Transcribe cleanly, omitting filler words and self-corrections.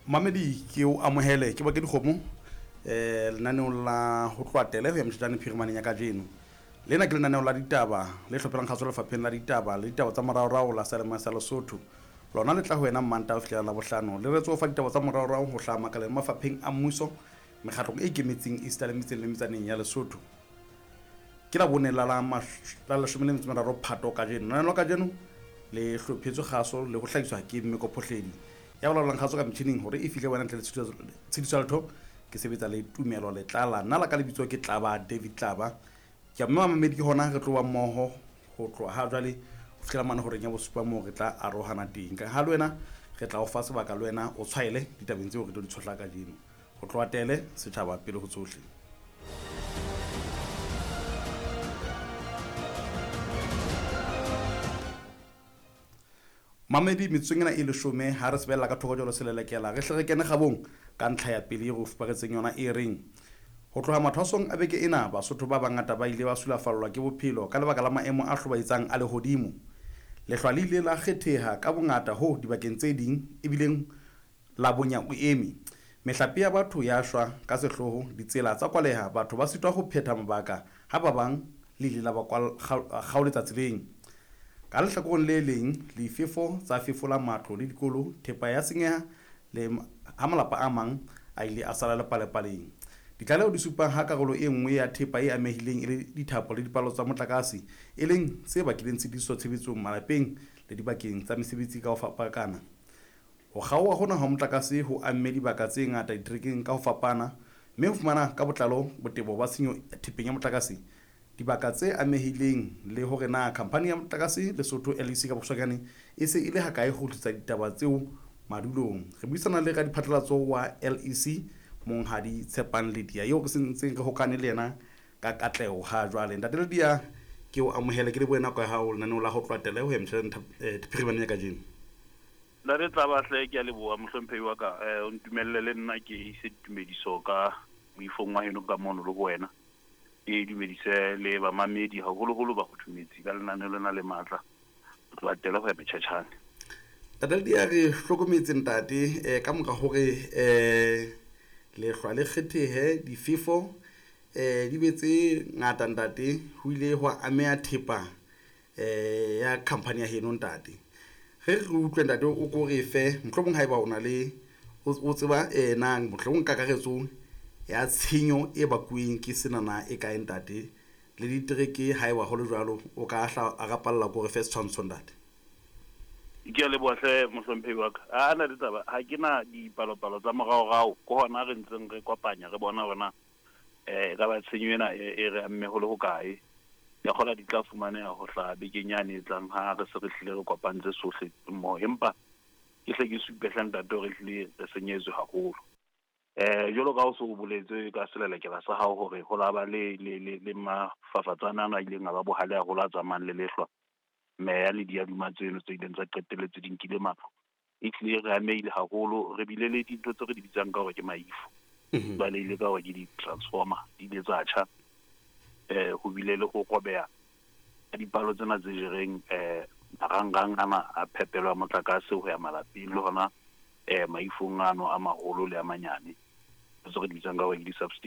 Mamedi ke o amohele ke bake dikgomo lenaneong la ho tloha tele ho ya motjhetjane phirimaneng ya kajeno. Lena ke lenaneo la ditaba le hlophelang kgaso lefapheng la ditaba le ditaba tsa moraorao la Seyalemoya sa Lesotho. Lona le tla ho wena Mmantaha ho fihlela Labohlano. Le retse ho fa ditaba tsa moraorao ho hlaha makaleng le mafapheng a mmuso, mekgatlong e ikemetseng esita le metseng le metsaneng ya Lesotho. Ke Labone la la la leshome le metso meraro Phato kajeno. Lenaneo la kajeno le hlophetswe kgaso le ho hlahiswa ke Mmeko Phohledi. Ya bolaolang kgaso ka metjhining hore e fihle wena ntle le tshitiso ya letho ke sebetsa le Tumelo Letlala. Nna la ka lebitso ke Tlaba David Tlaba. Ke a mme mamedi ke hona re tlo ba mmoho ho tloha ha jwale ho fihlela mane horeng ya bosupa moo re tla arohana teng. Ka ha le wena re tla o fa sebaka le wena o tshwaele ditabeng tseo re tlo di tshohla kajeno. Ho tloha tele setjhaba pele ho tsohle. Mamedi metsotsong ena e leshome ha re sebelela ka thoko jalo selelekela re hle re kene kgabong ka ntlha ya pele e re o fuparetseng yona e reng ho tloha mathwasong a beke ena Basotho ba bangata ba ile ba sulafallwa ke bophelo ka lebaka la maemo a hlobaetsang a lehodimo. Lehlwa le ile la kgetheha ka bongata hoo dibakeng tse ding ebileng la bonya o eme. Mehlape ya batho ya shwa ka sehloho, ditsela tsa kwaleha, batho ba sitwa ho phetha mabaka ha ba bang le ile la ba kgaoletsa tseleng. Ka lehlakoreng le leng, lifefo tsa fefola matlo le dikolo, thepa ya senyeha le ha malapa a mang a ile a sala lepalepaleng. Ditlaleho di supa ha karolo e nngwe ya thepa e amehileng e le dithapo le dipalo tsa motlakase, e leng se bakileng tshitiso tshebetsong malapeng le dibakeng tsa mesebetsi ka ho fapakana. Ho kgaoha hona ha motlakase ho amme dibaka tse ngata diterekeng ka ho fapana, mme ho fumana ka botlalo botebo ba tshenyo thepeng ya motlakase, dibaka tse amehileng le hore na khamphani ya motlakase Lesotho, LEC ka bokgutshwanyane, e se e le hakae ho tlisa ditaba tseo madulong. Re buisana le radiphatlalatso wa LEC, Monghadi Tshepang Ledia, eo re se ntseng re hokane le yena ka katleho ha jwale. Ntate Ledia, ke o amohele ke lebohe nako ya hao lenaneong la ho tloha tele ho ya metjha phirimaneng ya kajeno. Ntate Tlaba hle ke a leboha mohlomphehi wa ka. O ntumelle le nna ke ise ditumediso ka moifong wa heno ka mono le ho wena. Ke dumedise le bamamedi haholoholo ba kgothumetsi ka lenaneo lena le matla ho tloha tele ho ya metjhatjhane. Ntate Ledia re hlokometse ntate ka mora hore lehlwa le kgethehe difefo di be tse ngata ntate ho ile hwa ameha thepa ya company ya heno ntate. Re re utlwe ntate o ko re fe mohlomong haeba o na le o tseba na mohlomong kakaretso ya tshenyo e bakuweng ke senana e kae ntate le ditereke haeba ho le jwalo o ka hla a rapalla ko re fe setshwantsho ntate. Ke a leboha hle mohlomphehi wa ka. A na le taba ha ke na dipalopalo tsa moraorao ke hona re ntseng re kopanya re bona hore na e ka ba tshenyo ena e re amme ho le hokae. Ke a kgolwa di tla fumaneha ho hlaha bekeng yane e tlang ha re se re hlile re kopantse sohle mmoho. Empa ke hle ke supe hle ntate hore ehlile re senyetswe haholo. Jwalo ka ha o so o boletse ka selelekela sa hao hore ho la ba le le le le mafafatsane ano a ileng a ba bohale haholo a tsamayang le lehlwa, meya le diaduma tseno tse ileng tsa qetelletse di nkile matlo. Ehlile re amehile haholo, re bile le dintho tse re di bitsang ka hore ke maifo. Jwale ile ka hore ke di-transformer di ile tsa tjha. Ho bile le ho robeha ha dipalo tsena tse jereng marangrang ana a phepelo ya motlakase ho ya malapeng le hona maifong ano a maholo le a manyane, tse re di bitsang ka hore ke di-substation.